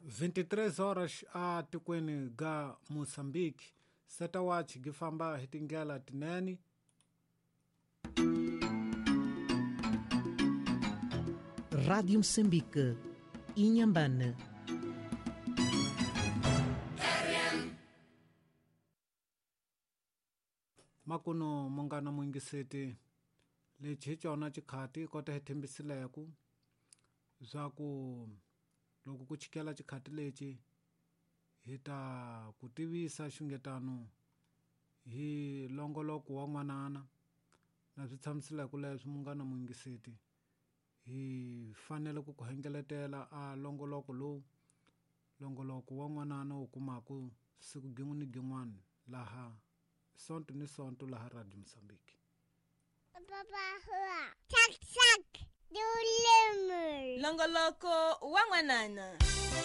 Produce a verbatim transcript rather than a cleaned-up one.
vinte e três horas a tikweni ga Mozambique. Setawachi gi famba hi tindlela tinene. Rádio Moçambique, Inhambane. Makuno mungana muyingiseti, lexi hi cona xikhati kota hi thembisileku swa ku loko ku chikela xikhati lexi hi ta ku tivisa xungetano hi longoloko wa n'wanana na swi tshamisileke leswi. Munghana muyingiseti, hi fanele ku ku hengeletela a longoloko lowu, longoloko wa n'wanana wu kumaku siku gin'we ni gin'wana laha sonto ni sonto laha Radio Mozambique. Longoloko wa n'wanana.